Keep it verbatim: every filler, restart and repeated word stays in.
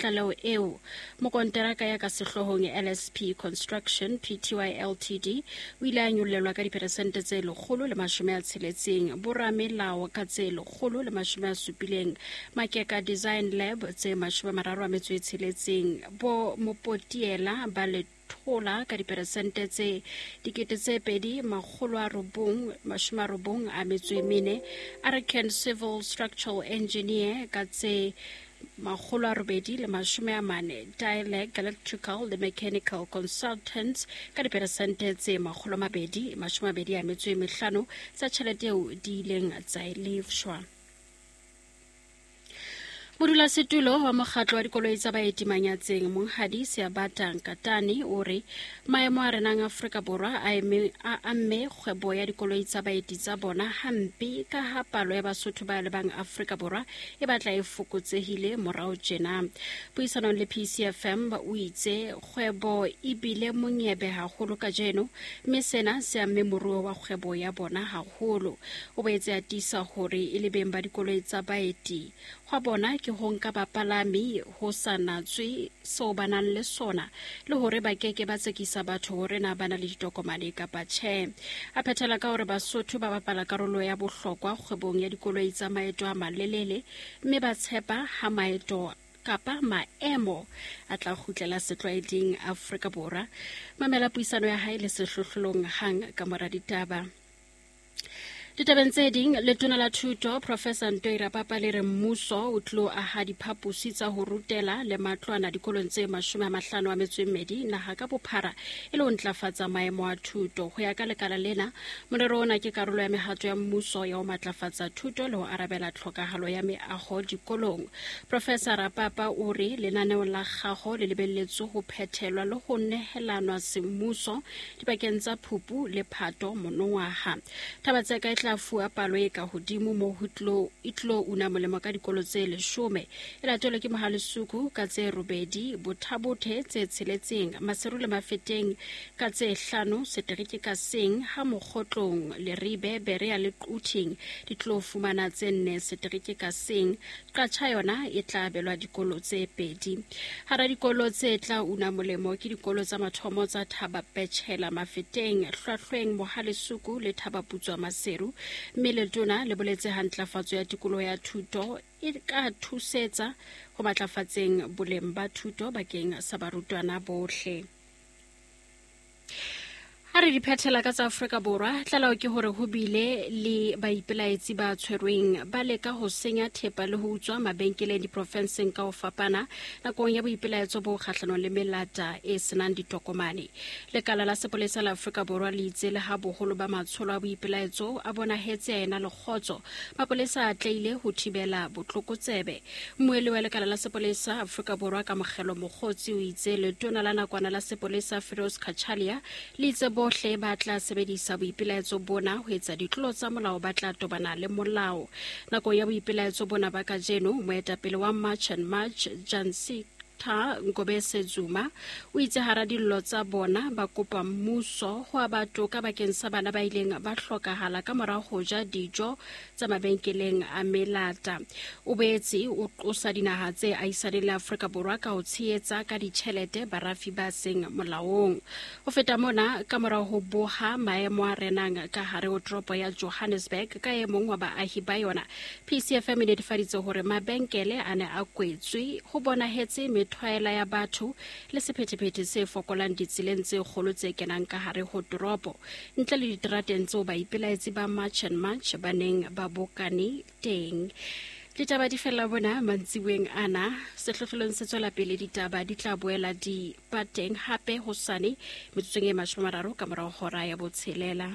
tlaleho eo, mokonteraka ya ka sehloohong L S P Construction P T Y L T D o ile a nyollelwa ka diperesente tse lekgolo le mashome a tsheletseng, boramelao ka tse lekgolo le mashome a supileng, Makeka Design Lab tse mashome a mararo a metso e tsheletseng, bo Mopotiela ba le thola ka diperesente tse dikete tse pedi makgolo a robong mashome a robong a metso e mene, Arakan Civil Structural Engineer ka tse makgolo a robedi le mashome a mane, Dialect Electrical le Mechanical Consultants ka diperesente tse makgolo a mabedi mashome a mabedi a metso e mehlano tsa tjhelete eo di ileng tsa e lefshwa. Modulasetulo wa mokgatlo wa dikoloi tsa baeti Manyatseng Monghadi Seabata Nkatane o re maemo a renang Afrika Borwa a eme a amme kgwebo ya dikoloi tsa baeti tsa bona hampe ka ha palo ya Basotho ba lebang Afrika Borwa e batla e fokotsehile morao tjena. Puisanong le P C F M o itse kgwebo e bile monyebe haholo kajeno mme sena se amme moruo wa kgwebo ya bona haholo. O boetse a tiisa hore e le beng ba dikoloi tsa baeti hwa bona ke ho nka bapalami ho sa natswe seo ba nang le sona le hore ba keke ba tsekisa batho hore na ba na le ditokomane kapa tjhe. A phethela ka hore Basotho ba bapala karolo ya bohlokwa kgwebong ya dikoloi tsa maeto a malelele mme ba tshepa ha maeto kapa maemo a tla kgutlela setlwaeding Afrika Borwa. Mamela puisano ya hae le sehlohlolong hang ka mora ditaba. Ditabeng tse ding, letona la thuto Professor Ntoi Rapapa le re mmuso o tlo aha diphaposi tsa ho rutela le matlwana dikolong tse mashome a mahlano a metso e mmedi naha ka bophara e le ho ntlafatsa maemo a thuto. Ho ya ka lekala lena, morero ona ke karolo ya mehato ya mmuso ya ho matlafatsa thuto le ho arabela tlhokahalo ya meaho dikolong. Professor Rapapa o re lenaneo la kgaho le lebelletswe ho phethelwa le ho nehelanwa semmuso dipakeng tsa Phupu le Phato monongwaha. Taba tse ka tla fuwa palo e ka hodimo mo ho tlo e tlo una molemo ka dikolo tse leshome, e latelwe ke Mohalesuku ka tse robedi, Bothabothe tse tsheletseng, Maseru le Mafeteng ka tse hlano, setereke ka seng ha Mokgotlong, Leribe, Berea le Quthing di tlo fumana tse nne setereke ka seng. Qatjha yona e tla abelwa dikolo tse pedi. Hara dikolo tse tla una molemo ke dikolo tsa mathomo tsa Thaba Petshela Mafeteng, Hlwahlweng, Mohalesuku le Thaba Putswa Maseru, mme letona le boletse ha ntlafatso ya tikoloho ya thuto e ka thusetsa ho matlafatseng boleng ba thuto bakeng sa barutwana bohle. Ha re di phethela ka tsa Afrika Borwa, tlaleho ke hore ho bile le baipelaetsi ba tshwerweng ba leka ho senya thepa le ho utswa mabenkeleng diprofenseng ka ho fapana nakong ya boipelaetso bo kgahlanong le melata e senang ditokomane. Lekala la sepolesa la Afrika Borwa le itse le ha boholo ba matsholo a boipelaetso a bonahetse a ena le kgotso, mapolesa a atlehile ho thibela botlokotsebe. Mmuelli wa lekala la sepolesa Afrika Borwa Kamogelo Mokgotsi o itse letona la nakwana la sepolesa Firoz Cachalia le itse bohle ba tla sebedisa boipelaetso bona ho etsa ditlolo tsa molao ba tla tobana le molao. Nakong ya boipelaetso bona ba kajeno, moetapele wa March and March Jansi Ngobese Zuma o itse hara dillo tsa bona ba kopa mmuso ho aba toka bakeng sa bana ba ileng ba hlokahala ka mora ho ja dijo tsa mabenkeleng a melata. O boetse o qosa dinaha tse ahisaneng le Afrika Borwa ka ho tshehetsa ka ditjhelete barafi ba seng molaong. Ho feta mona, ka mora ho boha maemo a renang ka hare ho toropo ya Johannesburg ka e mong wa baahi ba yona, P C F M e netefaditse hore mabenkele a ne a kwetswe, ho bonahetse methwaela ya batho le sephethephethe se fokolang ditseleng tse kgolo tse kenang ka hare ho toropo, ntle le diterateng tseo baipelaetsi ba March and March ba neng ba bokane teng. Ditaba di fella bona mantsiboeng ana. Sehlohlolong se tswela pele, ditaba di tla boela di ba teng hape hosane metsotsong e mashome a mararo ka morao hora ya botshelela.